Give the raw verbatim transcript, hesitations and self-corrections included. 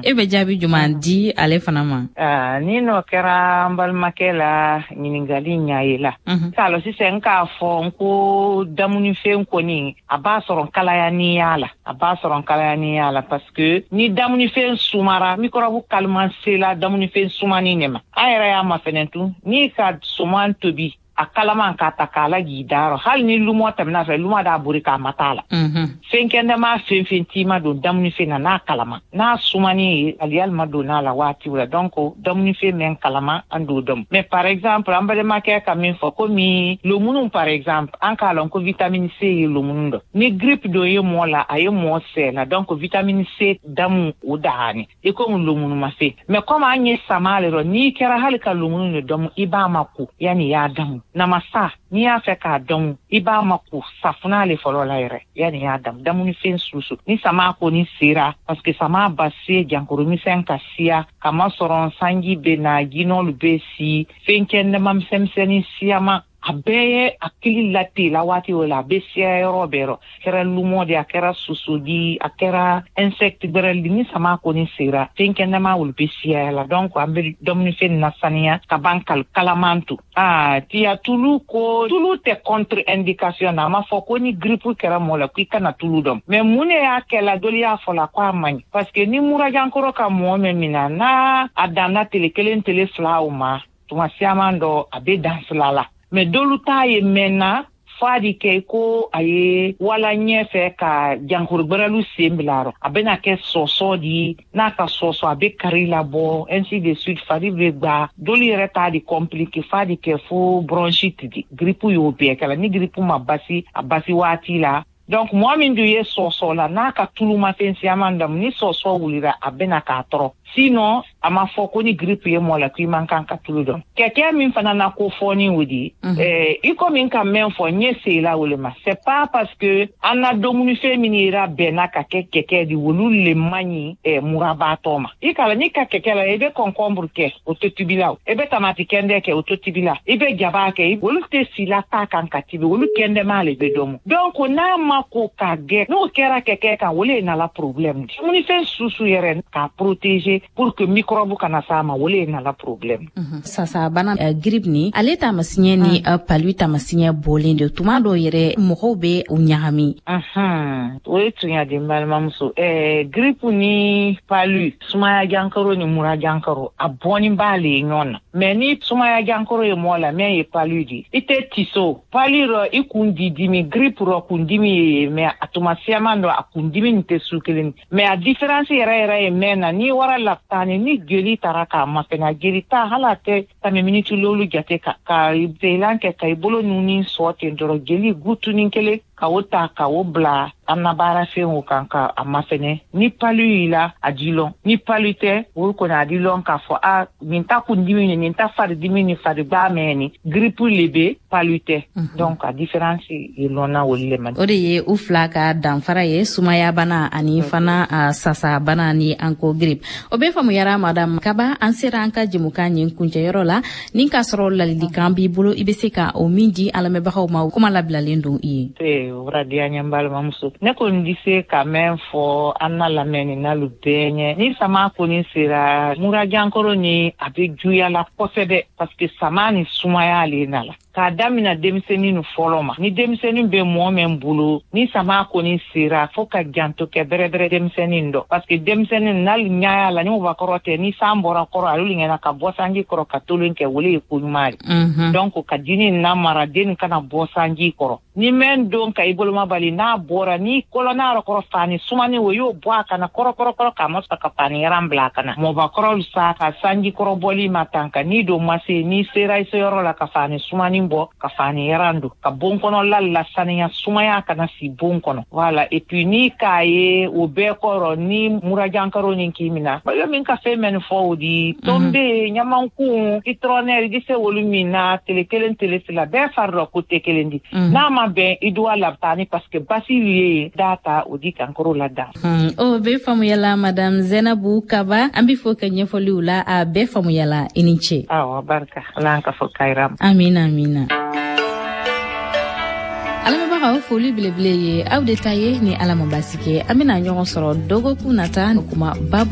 E bɛ jaabi jumɛn di ale fana ma? Ah, ni n'o kɛra n balimakɛ la ɲininkali ɲa ye la. K'a lɔ sisan, n k'a fɔ n ko damunifɛn kɔni, a b'a sɔrɔ kalaya ni y'a la, a b'a sɔrɔ kalaya ni y'a la, parce que ni damunifɛn sumara, microbe kaliman sela damunifɛn sumani ne ma. An yɛrɛ y'a mafɛnɛ tun, n'i ka suman tobi a kalaman k'a ta k'a laj'i dayɔrɔ, hali ni lumɔ tɛmɛna fɛ, lumɔ d'a bori k'a ma t'a la. Fɛn kɛnɛma, fɛn fɛn t'i ma don damunifɛn na n'a kalama, n'a sumani ye, aliyali ma don n'a la waati la. Donc damunifɛn mɛn kalama, an d'o dɔn. Mais par exemple, an balimakɛ ka min fɔ, komi lomunu par exemple, an k'a lɔn ko vitamine C ye lomunu dɔ. Ni grippe dɔ ye mɔɔ la, a ye mɔɔ sɛ la, donc vitamine C damu o dahani i komi lomunu ma se. Mais comme an ye sama le rɔ, n'i kɛra hali ka lomunu de dɔmu, i b'a ma ko yanni i y'a damu. Namasa, n'i y'a fɛ k'a dɔn, i b'a ma ko safunɛ le fɔlɔ la yɛrɛ yanni i y'a damu. Damunifɛn susu ni sama kɔni sera, parce que sama ba se jankaro misɛn ka siya, kamasɔrɔ sanji bɛ na, jinɔlu bɛ si, fɛn kɛnɛma misɛnmisɛnnin siyama, a bɛɛ ye a kili la la waati o la, a bɛ siya yɔrɔ bɛɛ rɔ. Kɛra lumɔ de, a kɛra soso di, a kɛra insecte gbɛrɛ di, ni sama kɔni sera, fɛn kɛnɛma olu bɛ siya la. Donc an bɛ dumunifɛn nasaniya ka ban kalaman to. Aa, tiya tulu ko, tulu tɛ contre indication na. A ma fɔ ko ni grippe kɛra mɔgɔ la k'i kana tulu dɔn. Mais mun de y'a kɛ la, dɔli y'a fɔ la ko a man ɲi? Parce que ni murajankɔrɔ ka mɔgɔ min minɛ, n'a a danna tele kelen, tele fila o ma, tuma siaman dɔ a bɛ dan fila la. Mais dolu t'a ye mɛnna f'a di kɛ ko a ye wala ɲɛfɛ ka jankaro gbɛrɛlu sen bila rɔ, a bɛna kɛ sɔsɔ di, n'a ka sɔsɔ, a bɛ kari labɔ, ainsi de suite, fari bɛ gba. Dolu yɛrɛ t'a di compliqué f'a di kɛ fo bronchite di. Grippe y'o bɛɛ kɛla ni grippe ma basi a basi waati la. Donc mɔgɔ min dun ye sɔsɔ la, n'a ka tulumafɛn siyaman damu, ni sɔsɔ wulira, a bɛna k'a tɔrɔ. Sinon a ma fɔ ko ni grippe ye mɔgɔ la k'i man kan ka tulu dɔn. Kɛkɛ min fana na ko fɔ ni o di, eh, i komi n ka mɛn fɔ n ye sela o le ma, c'est pas parce que an na dumunifɛn min yira bɛnna ka kɛ kɛkɛ di, olu le man ɲi eh, murabaatɔ ma. I kala n'i ka kɛkɛ la, i bɛ concombre kɛ, o tɛ tibi la. O i bɛ tamati kɛndɛ kɛ, o tɛ tibi la. I bɛ jaba kɛ, olu tɛ sila ta kan ka tibi, olu kɛndɛma le bɛ dɔn. Donc n'a ma ko ka gɛ, n'o kɛra kɛkɛ kan, o le ye nala problème di. Dumunifɛn susu yɛrɛ k'a protéger pour que microbe kana s'a ma, o le ye nala problème. Sasa bana uh, grippe ni ale taamasiɲɛ ni uh, palu taamasiɲɛ bɔlen de, tuma dɔw yɛrɛ mɔgɔw bɛ u ɲagami. O ye tunya di, n balimamuso. ɛɛ grippe ni palu, sumaya jankaro ni mura jankaro, a bɔnni b'ale ye ɲɔgɔn na. Mais ni sumaya jankaro ye mɔgɔ la, min ye palu di, i tɛ tiso palu rɔ, i kun di dimi. Grippe rɔ, kun dimi ye, mais a tuma siyaman dɔ, a kun dimi nin tɛ su kelen. Mais a différence yɛrɛ yɛrɛ ye mɛn na, n'i wara lapitani, ni jeli taara k'a mafɛnɛ, jeli ta hali a tɛ tɛmɛ miniti lolu jate ka ka zelan kɛ ka i bolo nuni sɔ ten dɔrɔn, jeli gutunin kelen ka o ta ka o bila an na baarafɛnw kan ka a mafɛnɛ. Ni palu y'i la, a di lɔn. Ni palu tɛ, o kɔni a di lɔn k'a fɔ a nin ta kun dimi ni nin ta fari dimi ni fari gba mɛn ni grippe le bɛ, palu tɛ. Donc a différence ye lɔnna olu le ma. O de ye u fila ka danfara ye, sumaya bana ani fana a sasa bana ni an ko grippe. O bɛ faamuyara, madame Kaba. An sera an ka jɛmukan nin kuncɛyɔrɔ la. Ni k'a sɔrɔ ladilikan b'i bolo, i bɛ se ka o min di an lamɛnbagaw ma, kuma labilalen don i ye. O diya n ye, n balimamuso. Ne kɔni di se ka mɛn fɔ an na lamɛnni bɛɛ ɲɛ, ni sama kɔni sera, murajankɔrɔ ni a bɛ juguya la kosɛbɛ, parce que sama ni sumaya le nana k'a damina denmisɛnnin ni fɔlɔ ma. Ni denmisɛnnin bɛ mɔɔ min bolo, ni sama kɔni sera, fo ka janto kɛ bɛrɛbɛrɛ denmisɛnnin dɔ, parce que denmisɛnnin n'ale ɲaya la ni mɔgɔkɔrɔ tɛ, ni san bɔra kɔrɔ, ale ɲɛna ka bɔ sanji kɔrɔ ka tolon kɛ, wele ye ko ɲuman ye. Donc ka dini namara den kana bɔ sanji kɔrɔ. Ni mɛn don ka i boloma bali, n'a bɔra ni kɔlɔnna yɔrɔ kɔrɔ, fani sumani o y'o bɔ a kana kɔrɔ kɔrɔ kɔrɔ k'a ma sɔrɔ ka fani yaran bila a kana. Mɔbakɔrɔ sa ka sanji kɔrɔ bɔli ma tan ka n'i don ma se, n'i sera i seyɔrɔ la, ka fani sumani bɔ ka fani yaran don ka bon kɔnɔla lasaniya, sumaya kana si bon kɔnɔ. Voilà. Et puis ni k'a ye o bɛɛ kɔrɔ, ni murajankaro ni k'i mina bayo min ka fɛn mɛn fɔ o di, tombe, ɲamankun, citronnelle, i di se olu min na tele kelen, tele fila, bɛɛ fari dɔ ko tɛ kelen di. N'a ma bɛn, i duwa labitani, parce que basi ye da ta o di kankoro la dan. O bɛɛ faamuyala, madame Zenabu Kaba. An bɛ fɔ ka ɲɛfɔliw la, a bɛɛ faamuyala, i ni ce. Awɔ, barika Ala ka fɔ kayira. Amina, amina. Alamɛnbagaw, foli belebele ye aw de ta ye. Ni Ala ma basi kɛ, an bena ɲɔgɔn sɔrɔ dɔgɔkun nata kuma babu.